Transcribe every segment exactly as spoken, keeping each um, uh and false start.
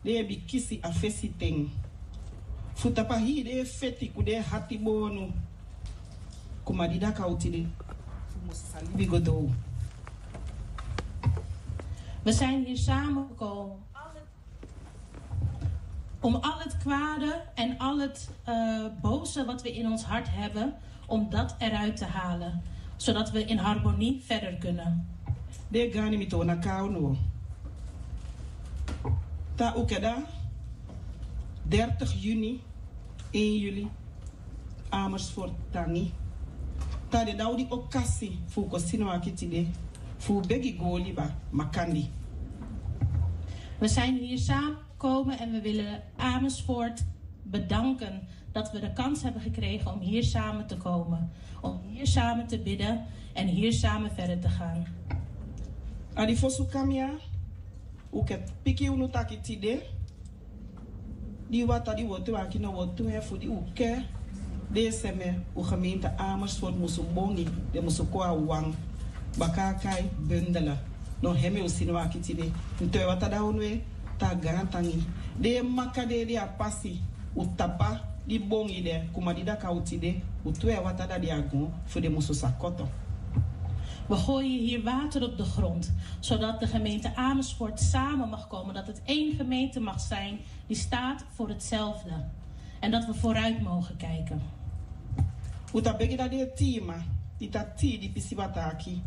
den e bikisi a fesi ten. Fu tapu a hii den e feti ku den e hati boonu. Kuma di daka u tide, u musu sa libi go dou. We zijn hier samengekomen om al het kwade en al het eh, boze wat we in ons hart hebben, om dat eruit te halen, zodat we in harmonie verder kunnen. Den e gani mi toon na kaaw no. Te a ukeda, dertig juni, één juli, Amersfoort tangi. Te a de dati wi di okasi fu kon sinwaki tide, fu begi go liba makandi. We zijn hier samen komen en we willen Amersfoort bedanken dat we de kans hebben gekregen om hier samen te komen, om hier samen te bidden en hier samen verder te gaan. A di fosi u kon ya, u kan piki unu taki tide, di wata di u o teki waki no u o teki fu di u ke den seme u gemeente Amersfoort musu bongi, den musu kon a wan. Baka a kai bundele. No hemi u sinwaki tide. Un teki wata dati unu e tan gaantangi. Den e maka den ede a pasi. U tapa di bongi de, kuma di daka u tide, u teki wata dati a gon fu den musu sa koto. We gooien hier water op de grond, zodat de gemeente Amersfoort samen mag komen, dat het één gemeente mag zijn die staat voor hetzelfde. En dat we vooruit mogen kijken. U ta begi dati den tima di ta tii di pisiwata aki,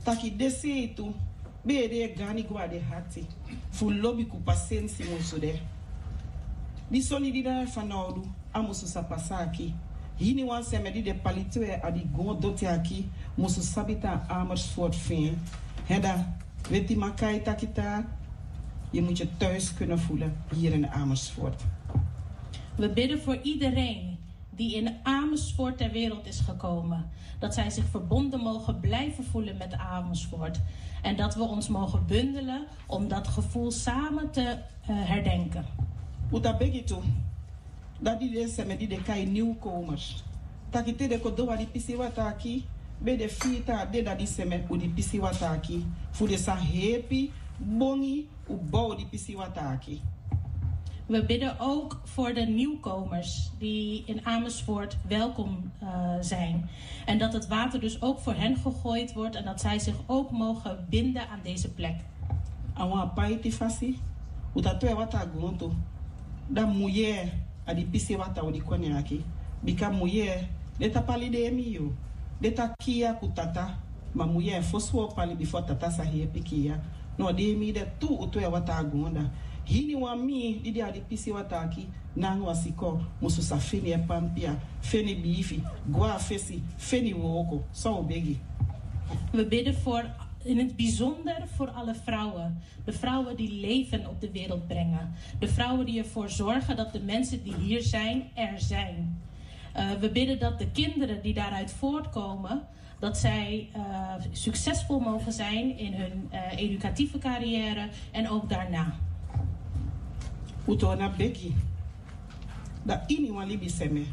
taki den seitu ben e de gani go a den hati fu lobi ku pasensi musu de. Di soni di de fanowdu a musu sa pasa aki. Hiniwan seme di de pali twe a di gon doti aki musu sabi tan Amersfoort fu en. Heda, weti makai taki ta, je moet je thuis kunnen voelen hier in Amersfoort. We bidden voor iedereen die in Amersfoort ter wereld is gekomen, dat zij zich verbonden mogen blijven voelen met Amersfoort. En dat we ons mogen bundelen om dat gevoel samen te eh, herdenken. U ta begi tu, dati den seme di den kai nieuwkomers, taki te den kon dou a di pisiwata aki, ben den fii tan a den dati seme u di pisiwata aki, fu den sa hepi bongi u bow di pisiwata aki. We bidden ook voor de nieuwkomers die in Amersfoort welkom eh, zijn. En dat het water dus ook voor hen gegooid wordt en dat zij zich ook mogen binden aan deze plek. A wan paiti fasi, u ta teki wata a gontu. Dan muye a di pisiwata u di kon ne aki. Bika muye, den ta pali den e mii yu. Den ta kiya ku tata. Ma muye fosi u o pali bifo tata sa hepi kiya. No, den e mii den tu u teki wata a gontu. Hiniwan mii di de a di pisiwata aki, nanga wan siko, musu sa feni e pampia, feni biifi, go a fesi, feni wooko. So u begi. We bidden voor, in het bijzonder voor alle vrouwen. De vrouwen die leven op de wereld brengen. De vrouwen die ervoor zorgen dat de mensen die hier zijn, er zijn. Eh, we bidden dat de kinderen die daaruit voortkomen, dat zij eh, succesvol mogen zijn in hun eh, educatieve carrière en ook daarna. U toon na begi. Dati iniwan libi seme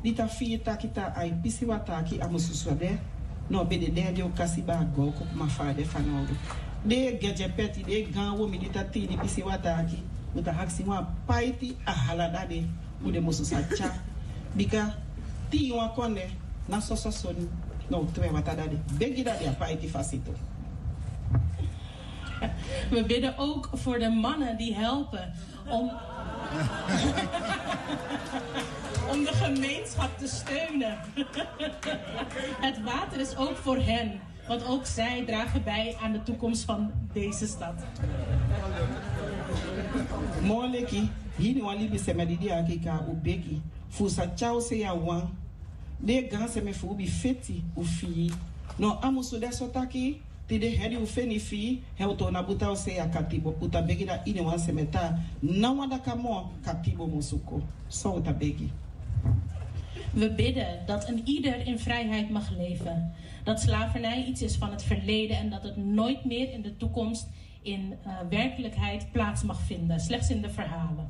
di ta fii taki ta a e pisiwata aki a musu so de, no ben de den di o kasi baka go ku kuma fa a de fanowdu. Den e gejepeti, den e gaan womi di ta tii di pisiwata aki, u ta aksi wan paiti a hala dati de, u den musu sa tya. Bika tii wan konde na soso soni, no u teki wata dati de. Begi dati a paiti fasi tu. We bidden ook voor de mannen die helpen om, om de gemeenschap te steunen. Het water is ook voor hen, want ook zij dragen bij aan de toekomst van deze stad. Moleki, hiniwan libi seme di de aki, kan u begi fu sa tya u sei a wan. Den gaan seme fu u bi feti u fii. No a musu de so taki, te den hedi u feni fii, he u toon na buta u sei a katibo. U ta begi dati iniwan seme ta, na wan daka moo katibo musu kon. So u ta begi. We bidden dat een ieder in vrijheid mag leven. Dat slavernij iets is van het verleden en dat het nooit meer in de toekomst in eh, werkelijkheid plaats mag vinden, slechts in de verhalen.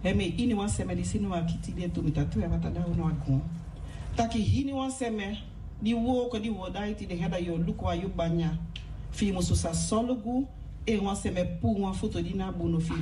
Hemi iniwan seme di sinwaki tide tu mi ta teki wata dati unu a gontu. Taki hiniwan seme di wooko di u o daiti den heda yu o luku a yu banya. Fi i musu sa solugu, en wan seme puu wan futu di na bunu fi